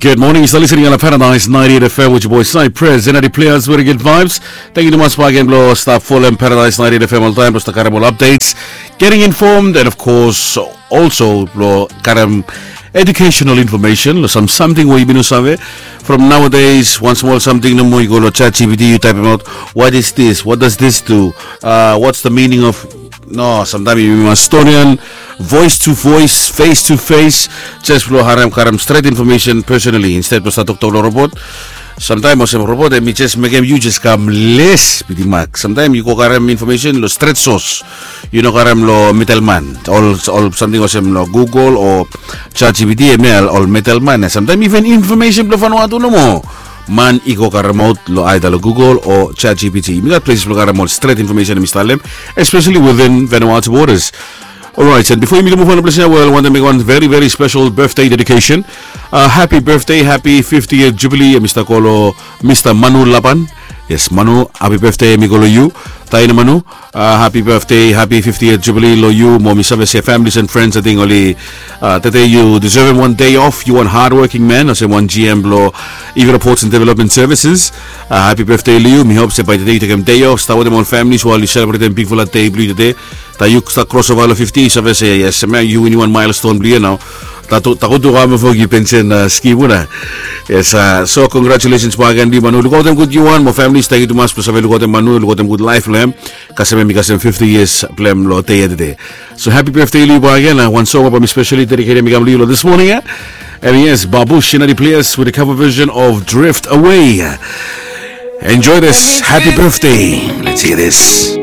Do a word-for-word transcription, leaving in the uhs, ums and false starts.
Good morning, you are listening on Paradise ninety-eight F M with your boy Cypress and Eddie Players with good vibes. Thank you tumas bak gen blong stap folem Paradise ninety-eight F M oltaem blong stap karem ol updates, getting informed and of course also blong karem educational information long sam samting we yumi no save. From nowadays, wan smol samting nomo yu go long ChatGPT, yu taipim aot what is this, what does this do, uh, what's the meaning of, no, samtaem yumi mas stonian voice to voice, face to face, jes blong harem karem stret information personally instead blong stap toktok long robot. Samtaem olsem robot em i jes mekem yu jes kam les bitimak. Samtaem yu go karem information long stret sos, yu no karem long middleman. Ol samting olsem long Google o ChatGPT em ya ol middleman ya. Samtaem iven information blong Vanuatu nomo man i go karemaot long aida long Google o ChatGPT. Yumi gat places blong karem ol stret information em i stap long em, especially within Vanuatu borders. Alright, and before yumi go move on, please, well, I want to make one very, very special birthday dedication. Uh, happy birthday, happy fiftieth jubilee, Mr. Kolo, Mr. Manu Lapan. Yes, Manu, happy birthday, mi go long yu. Taina Manu, uh, happy birthday, happy fiftieth jubilee long yu. Mo mi save se families and friends, I think, oli, uh, tede yu deserve one day off. Yu wan hardworking man, olsem wan G M blong Eagle Ports and Development Services. Uh, happy birthday long yu. Mi hope se by tede yu tekem day off, stap wetem ol families while yu celebratem bigfala day blong yu tede. Taem yu stap crossover long fifty, yu save se yes, hemia yu winim wan milestone blong yu ya nao. Tago tu kam fo yu pension scheme una. Yes, so congratulations bak gen long yu Manu. Lukaotem gud yu wan mo families, tangkiu tumas blong save lukaotem Manu, lukaotem gud laef blong hem. Kasem hem i kasem fifty years blong hem long dei ya tede. So happy birthday long yu bak gen. Wan song we bae mi specially dedicatem i kam long yu long this morning ya. And yes, Babu Shinadi Players with a cover version of Drift Away. Enjoy this. Happy birthday. Let's hear this.